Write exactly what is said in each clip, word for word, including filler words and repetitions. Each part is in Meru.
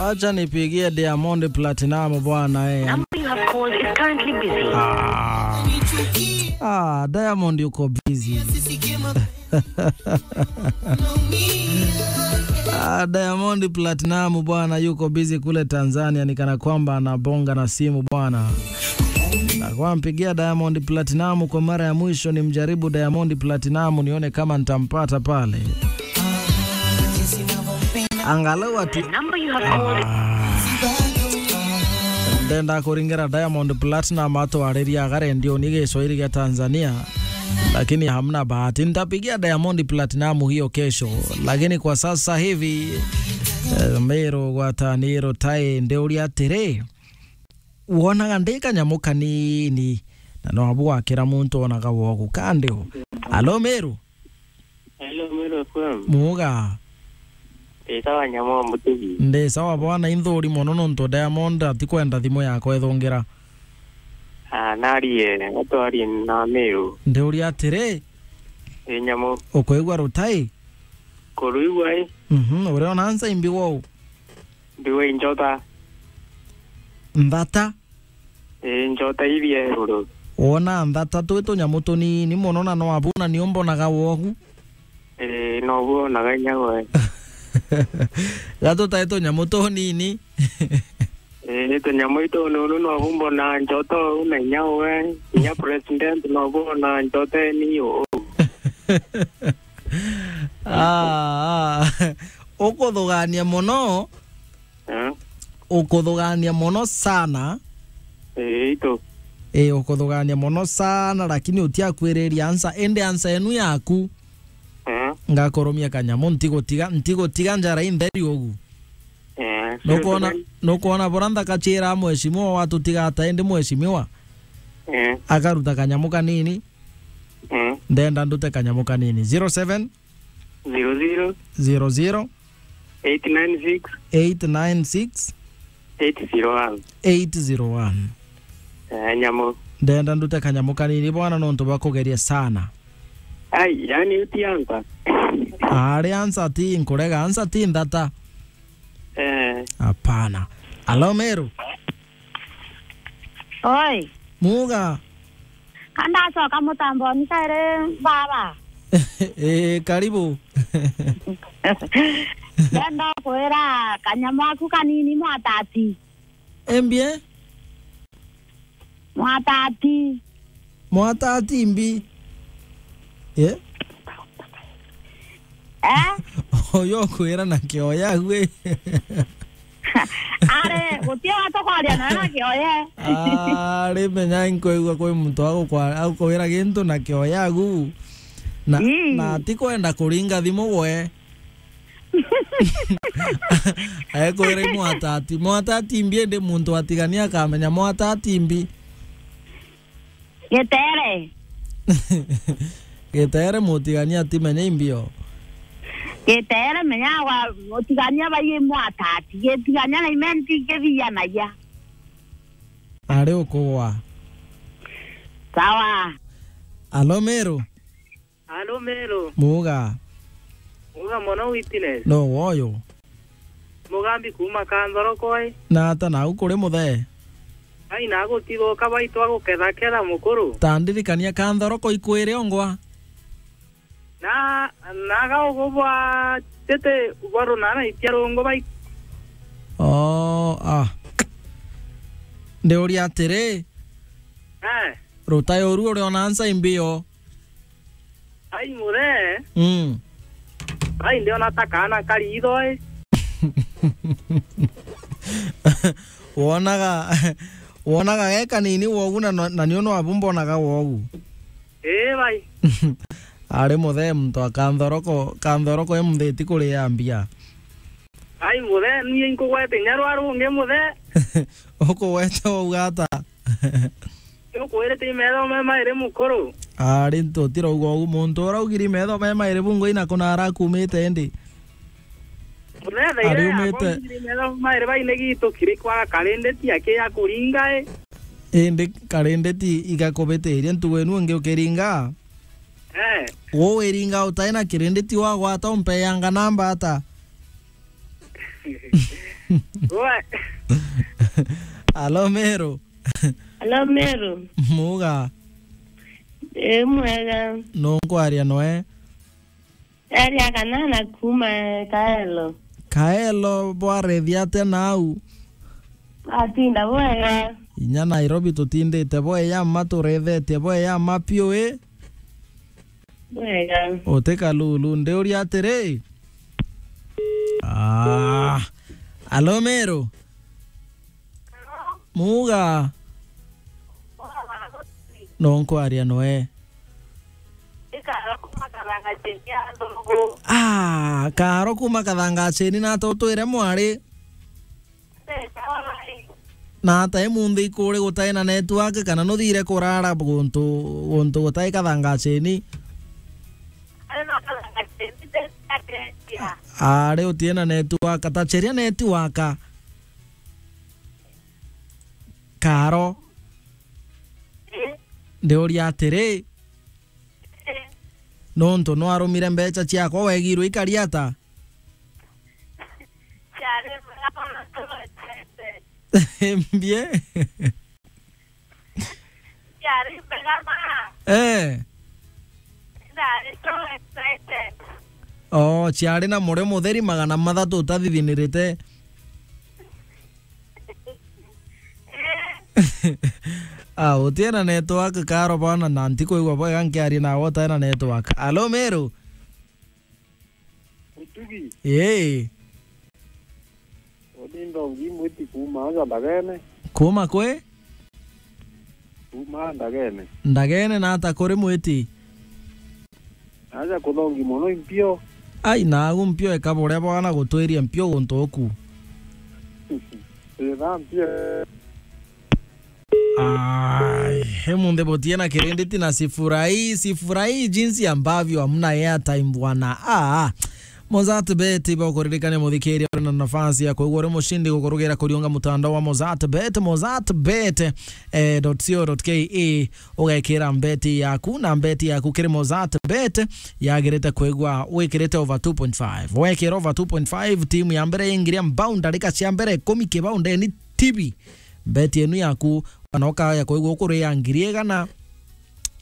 Acha nipigie Diamond Platinum bwana, eh. Number you have called is currently busy. Ah. Ah, Diamond yuko busy. Ah, Diamond Platinum bwana yuko busy kule Tanzania, ni kana kwamba anabonga na simu bwana. Na kwa mpigia Diamond Platinum kwa mara ya mwisho, nimjaribu Diamond Platinum nione kama nitampata pale. Angalau ati The number you have called. Ah. Ndenda kuringira Diamond Platinum atwariria aga rendioni Giswahili gia Tanzania, lakini hamna bahati. Nitapigia Diamond Platinum hiyo kesho, lakini kwa sasa hivi, eh, Meru gwataniro tai ndiuria atiri, wonaga ndi kanyamu kanini, na no abu wakira muntu onaga wogu kandi u. Alo, Meru? Hello, Meru F M. Muga. Ndi sawa, nyamu wa mutugi. Ndi sawa bwana, inthuri mono nontu Diamond atikwenda thimu yakwa ithungira. Ah, narie, atwarie na Meru. Ndiuria atiri, Ii, nyamu. Ukwigua rutai? Kuruigua, ii. Mhm, uriona nsa imbi wou? Ndiwe njota. Nthata? Ii, njota iria ruru. Wona nthata twi tunyamu tunini mono na no abu na ni umbonaga wogu? Ii, no bu onaga inya we. Ga tutai tunyamu tunini. Ii, tunyamu itu nunu no bu mbona njota uu na inya we. Inya president no bu ona njota eni uu. Ah, ah. Ukuthugania mono. Eh? Ukuthugania mono sana. Ii, itu. Ii, ukuthugania mono sana, lakini utiakwiriria ansa, indi ansa enu yaku. Eh? Ngakurumia kanyamu, ntigutiga, ntigutiga njara intheri ugu. Eh, Nukwona, nukwona bura nthakachira mheshimiwa watutiga ata indi mheshimiwa? Eh. Akaruta kanyamu kanini. Eh. Ndenda ndute kanyamu kanini. Zero seven? Zero zero. Zero zero. Eight nine six. Eight nine six. Eight zero one. Eight zero one. Eh, nyamu. Ndenda ndute kanyamu kanini bwana nontu bwa kugeria sana. Ai, yani uti ansa. Ari ansa ti nkurega, ansa ti nthata. Eh. Hapana. Alo, Meru. Oi. Muga. Ka ndacoka mutamboni kairi baba. Eh, karibu. Ndenda kwira kanyamu aku kanini mwatati. Embie? Mwatati. Mwatati mbi. Eh? Eh? Uyu ukwira na kioya gwi. Ari, guti wa tukoria na na kioya. Ari, menya inkwigua kwi muntu agukwa-, agukwira gintu na kioya gu. Na, Ii. Na atikwenda kuringa thimu gwe. Ekwira i mwatati. Mwatati mbi indi muntu atigania akamenya mwatati mbi. Gitere. Gitere mutigania atimenya imbio. Gitere menya wa mutigania bai i mwatati. Gitigania na imenti kithiyanagia. Ari ukugwa. Sawa. Alo, Meru. Alo, Meru. Muga. Muga mono, Witness. No woyo. Mugambi kuma Kanthoroko ii. Na ata nau kuri muthe? Ai, na gutithuka baitu agukethaketha mukuru. Ta ndirikania Kanthoroko ikwiri ongwa. Na, na ga ugu bwa tete bwa runana itia rungu bai. Oh, ah. Ndiuria atiri. Eh. Rutai uru uriona nsa imbio. Ai, muthe. Mm. Ai, ndiona ta kaana kari itho, ii. Wonaga, wonaga ge kanini wogu na, na nio nwabu mbonaga wogu. Ii, bai. Ari muthe muntu a Kanthoroko, Kanthoroko e muthiti kuria mbia. Ai, muthe, nie nkugwete inya rwa rungi, muthe. Ukugwete wauga ata? Ukwirite i metho me mairi mukuru. Ari ntutirauga ugu muntu uraugiri metho me mairi bungu ina kuna arakumite indi. Muthe, thaire ariumite. Yakwa ngiri metho mairi baine gitu kiri kwaga karindeti aki ya kuringa i. Indi karindeti igakubitiria ntugu inu ingi ukiringa? Eh. Uu wiringa utai na kirindeti wagwata umpeyanga namba ata? Wa- Alo, Meru. Alo, Meru. Muga. Ii, mwega. Nuu nkwaria noe? Eria Kanana kuuma Kaelo. Kaelo bwarethia atia nau? Atinda bwega. Inya Nairobi tutindite bweya mma, turethetie bweya mma piu, ii? Bwega. Uti kalulu, ndiuria atiri? Ah. Alo, Meru? Muga. Nuu nkwaria noe? Ah, Karo kuuma Kathangacheni, nata utwire mwari? Nata imunthi ikuri gutai na network kana nuthire kurara guntu, guntu gutai Kathangacheni? Ari utie na network, ta cheria network. Karo. Ndiuria atiri, nontu nwarumire mbecha ciakwa, wegirwe ikari ata? Ciari mbega mono, tugwetete. Mbie? Ciari mbega ma. Eh. Ndari so excited. Oh, ciari na murio mutheri magana mathatu utathithinirite. Ah, utie na network, Karo, bwana, na ntikwigua bwega nkiaria nawe utai na network. Alo, Meru? Utugi. Ii. Uni ndongi mwiti kuuma aja Ndagene. Kuuma kwi? Kuuma Ndagene. Ndagene, nata kuri mwiti? Aja kuthongi mono impio. Ai, nagu mpio eka buria bwana gutwiria mpio guntu uku. Ii, tha mpio. Ai, he munthi butie na kirinditi na sifurahi, sifurahi jinsi ambavyo hamna airtime bwana. Ah, Mozart Bet, iba ukuririkania muthikiria uri na nafasi ya kwigua uri mushindi gukurugira kuriunga mutandao wa Mozart Bet, Mozart Bet, eh, dot co dot K E, ugekira mbeti yaku, na mbeti yaku kiri Mozart Bet yagirite kwigua wikirite over two point five. Wekira over two point five, timu ya mbere ingiria mbao ndarika cia mbere ikumi kibao ndeni tibi. Mbeti enu yaku, kana ukaya kwigua ukuria ngiri igana,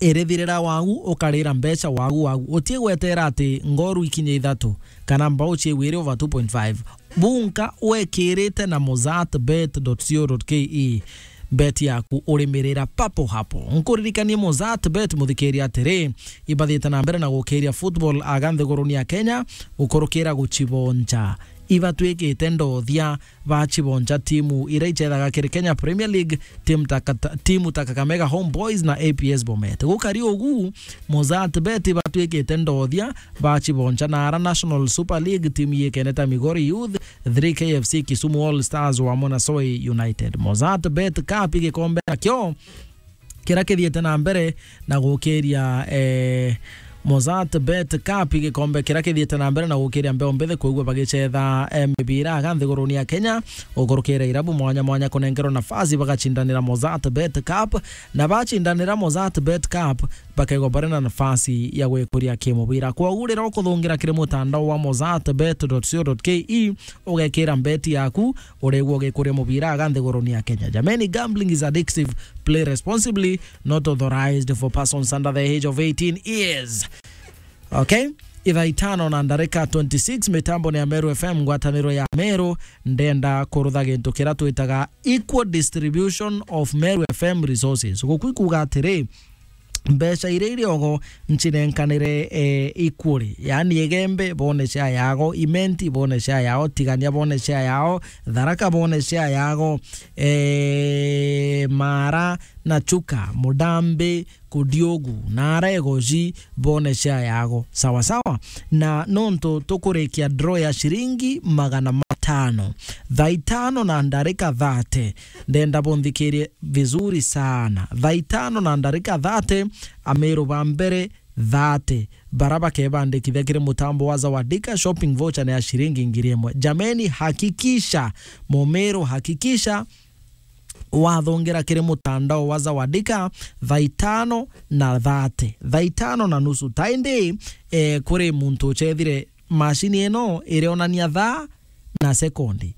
irithirira wagu, ukarira mbecha wagu wagu. Utie gwetera ati ngoru ikinye ithatu, kana mbao ciigwire over two point five. Bunka wekirite na mozart bet dot co dot K E. Bet yaku urimirira papo hapo. Nkuririkanie Mozart Bet, muthikiria, atiri, ibathite na mbere na gukiria football aga nthiguruni ya Kenya, gukurukira guchibonja. Ibatwikite ndothia bachibonja timu iria ichethaga kiri Kenya Premier League, timu ta Kata-, timu ta Kakamega Homeboys na A P S Bomet. Gukari ugu, Mozart Bet ibatwikite ndothia bachibonja na ara National Super League, timu yikene ta Migori Youth, three K F C, Kisumu All Stars wamwe na Soi United. Mozart Bet Cup igikombe nakio kiria kithiite na mbere na gukiria, eh, Mozart Bet Cup igikombe kiria kithiite na mbere na gukiria mbeo mbithi kwigua bagichetha, eh, mibira aga nthiguruni ya Kenya, gukurukira irabu mwanya mwanya kunenkerwa nafasi bagacindanira Mozart Bet Cup, na bacindanira Mozart Bet Cup, bakaigwa bari na nafasi ya gwikuria kimubira. Kwogu riria ukuthungira kiri mutandao wa mozart bet dot co dot K E, ugekira mbeti yaku, uregwa ugikuria mubira aga nthiguruni ya Kenya. Jameni, gambling is addictive. Play responsibly, not authorized for persons under the age of eighteen years. Okay? Ithaa itano na ndarika twenty-six, mitambo ni ya Meru F M, ngwataniro ya Meru. Ndenda kurutha gintu kiria twitaga equal distribution of Meru F M resources. Guku ikuuga atiri, mbeca iria iri ogo ncinenkanire, eh, equally. Yaani, Igembe bone share yago, Imenti bone share yao, Tigania bone share yao, Tharaka bone share yago, eh, Mara na Chuka, Mudambi, Kudiogu, na Aregoji bone share yago. Sawa sawa. Na nontu tukurikia draw ya shiringi magana matano, thaa itano na ndarika thate, ndenda bunthikirie vizuri sana. Thaa itano na ndarika thate, Ameru ba mbere thate, bara bakebandikithia kiri mutambo wa Zawadika, shopping voucher ni ya shiringi ngiri imwe. Jameni, hakikisha, Mumeru, hakikisha wathongera kiri mutandao wa Zawadika thaa itano na thate, thaa itano na nusu. Ta indi, eh, kuri muntu uchethire mashini ino irionania thaa na sekondi.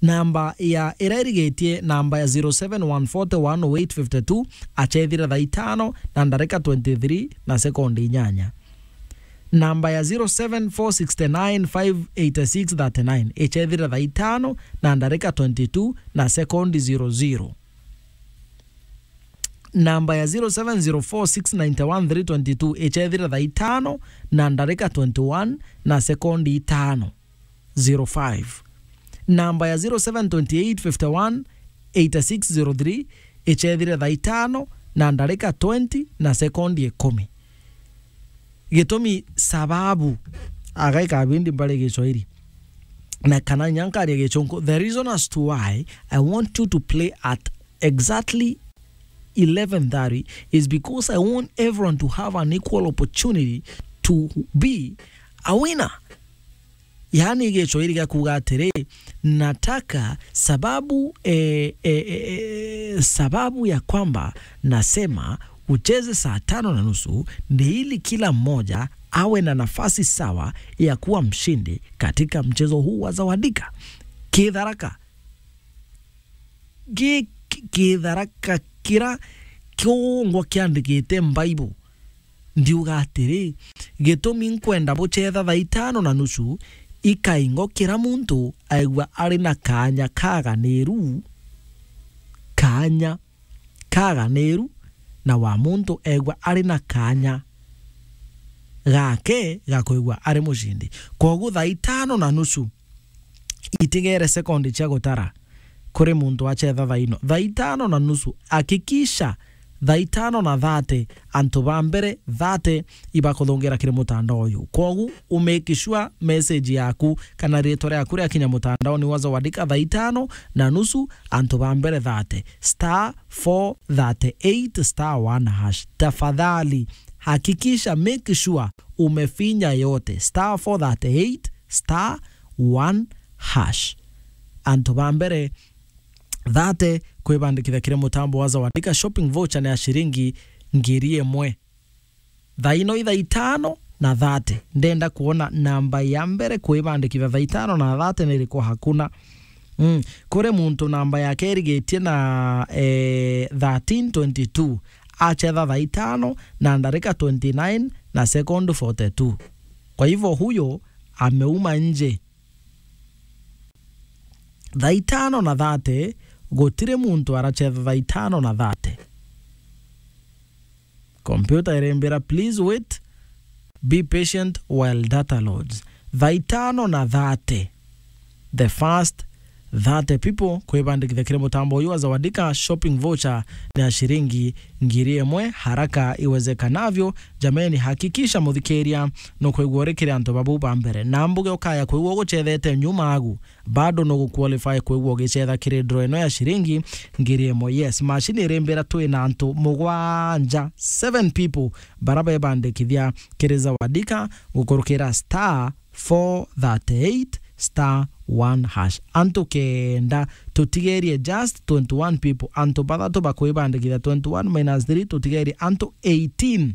Namba ya ira irigitie, namba ya zero seven one forty one oh eight fifty two, achethire thaa itano na ndarika twenty three na sekondi inyanya. Namba ya zero seven four six nine five eight six thirty nine, ichethire thaa itano na ndarika twenty two na sekondi zero zero. Namba ya zero seven zero four six nine one three twenty two, ichethire thaa itano na ndarika twenty one na sekondi itano, zero five. Namba ya zero seven twenty eight fifty one eight six zero three, ichethire thaa itano na ndarika twenty na sekondi ikumi. Gitumi, sababu, aga ikabindi mbari Giswahili, na kana inya nkaria Gichunku. The reason as to why I want you to play at exactly eleven thirty is because I want everyone to have an equal opportunity to be a winner. Yaani, Giswahili gia kuuga atiri, nataka sababu, eh, eh, eh, eh, sababu ya kwamba nasema ucheze saa tano na nusu ni ili kila mmoja awe na nafasi sawa ya kuwa mshindi katika mchezo huu wa Zawadika. Kitharaka. Gi-, ki-, kitharaka kira kiungwa kiandikite Mbaibu. Ndiuga atiri, gitumi nkwenda buchetha thaa itano na nusu, ikaingo kira muntu aigua ari na kaanya kaganiru, kaanya kaganiru, na wa muntu eegua ari na kaanya gake ga kwigua ari mucindi. Kwogu thaa itano na nusu, itigere sekondi cia gutara kuri muntu achetha thaa ino. Thaa itano na nusu, hakikisha thaa itano na thate, antu ba mbere thate ibakuthungira kiri mutandao uyu. Kwogu, u make sure message yaku kana ritwa riaku riakinya mutandaoni wa Zawadika thaa itano na nusu, antu ba mbere thate, star four thirty eight star one hash. Tafadhali, hakikisha, make sure umefinya yote, star four thirty eight star one hash. Antu ba mbere thate kwibandikithia kiri mutambo wa Zawadika, shopping voucher ni ya ciringi ngiri imwe. Thaa ino i thaa itano na thate. Ndenda kuona namba ya mbere kwibandikithia thaa itano na thate ni iriku? Hakuna. Mm. Kuri muntu namba yake irigitie na, eh, thirteen twenty two, achetha thaa itano na ndarika twenty nine na second forty two. Kwa hivyo, huyo ameuma nje. Thaa itano na thate, gutiri muntu arachetha thaa itano na thate. Kompyuta irimbira, "Please wait, be patient while data loads." Thaa itano na thate, the first thirty people kwibandikithia kiri mutambo uyu wa Zawadika, shopping voucher ni ya ciringi ngiri imwe haraka iwezekanavyo. Jameni, hakikisha muthikiria nukwigua uri kiri antu babu ba mbere. Na mbuge ukaya kwigua uguchethete nyuma agu, bado nugu qualify kwigua ugichetha kiri draw ino ya ciringi ngiri imwe. Yes, machine irimbira twi na antu mugwanja, seven people, bara bebandikithia kiri Zawadika gukurukira star four thirty eight star one hash. Antu kenda, tutigerie just twenty one people. Antu bathatu bakwibandikithia, twenty one minus three, tutigerie antu eighteen.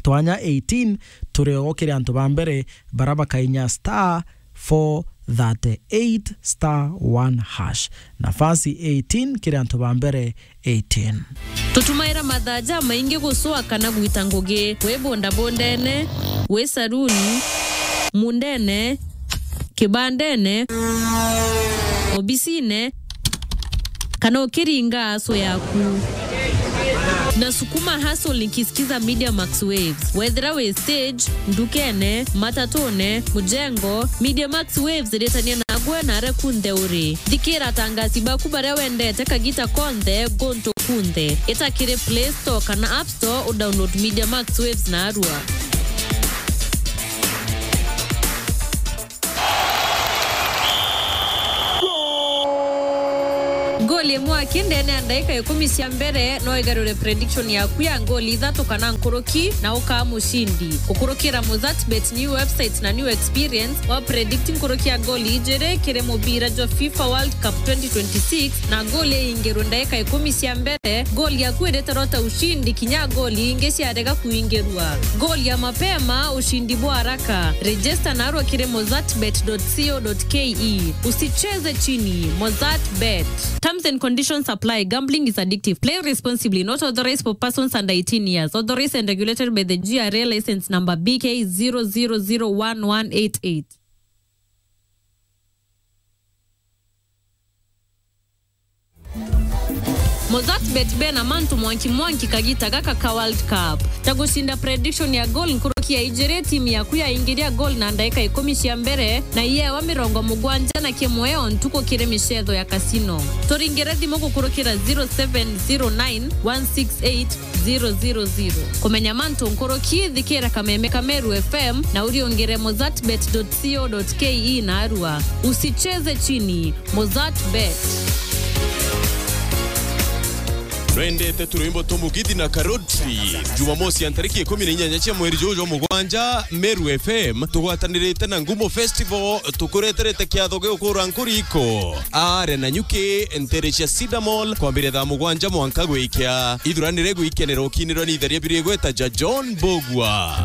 Twanya eighteen, turi o kiri antu ba mbere bara bakainya star four thirty eight star one hash. Nafasi eighteen kiri antu ba mbere eighteen. Tutumaira mathaa jamaingi gucua kana gwita ngugi, wi bondabondene, wi saruni, mundene, kibandene, obisine, kana ukiringa aso yaku. Na sukuma hustle nikisikiza Media Max Waves. Wethira wi stage, ndukene, matatune, mujengo, Media Max Waves iritania nagwe na aria kunthe uri. Thikira atangasi baku baria wendete kagita konthe, guntu kunthe. Ita kiri Play Store kana App Store u download Media Max Waves narua. Goli imwe aki ndene ya ndaika ikumi cia mbere no igarure prediction yaku ya goli ithatu kana nkuruki na ukaa mucindi. Gukurukira Mozartbet new website na new experience wa predict nkuruki ya goli ijiri kiri mubira jwa FIFA World Cup twenty twenty-six na goli iingirwe ndaika ikumi cia mbere, goli yaku iritarwa ta ucindi kinya goli ingi ciarega kuingirwa. Goli ya mapema, ucindi bwa haraka. Register narua kiri mozartbet dot co dot ke. Usicheze chini. Mozartbet. Terms and conditions apply. Gambling is addictive. Play responsibly. Not authorized for persons under eighteen years. Authorized and regulated by the G R A license number B K zero zero zero one one eight eight. Mozartbet bena mantu mwanki mwanki kagita gaka ka World Cup. Ta gucinda prediction ya goal nkuruki ya ijiri timu yaku yaingiria goal na ndaika ikumi cia mbere na iyewa mirongo mugwanja na kimwe o ntuku kiri micetho ya casino. Turingire thimu gukurukira zero seven zero nine one six eight zero zero zero. Kumenya mantu nkuruki, thikira kameme ka Meru F M na uriungire mozartbet dot co dot ke narua. Usicheze chini. Mozartbet. Nwendete turwimbo tumugithi na Karoti? Jumamosi ya ntariki ikumi na inyanya cia mweri juju jwa mugwanja, Meru F M tugwatanirite na Ngumo Festival tukureterete kiatho gia gukura nkuriko. Are na nyuki ntere cia Cedar Mall kwambiria thaa mugwanja mwanka gwikia. Ithuranire gwikenera ukinirwa ni itheria biri igweta ja John Bogwa.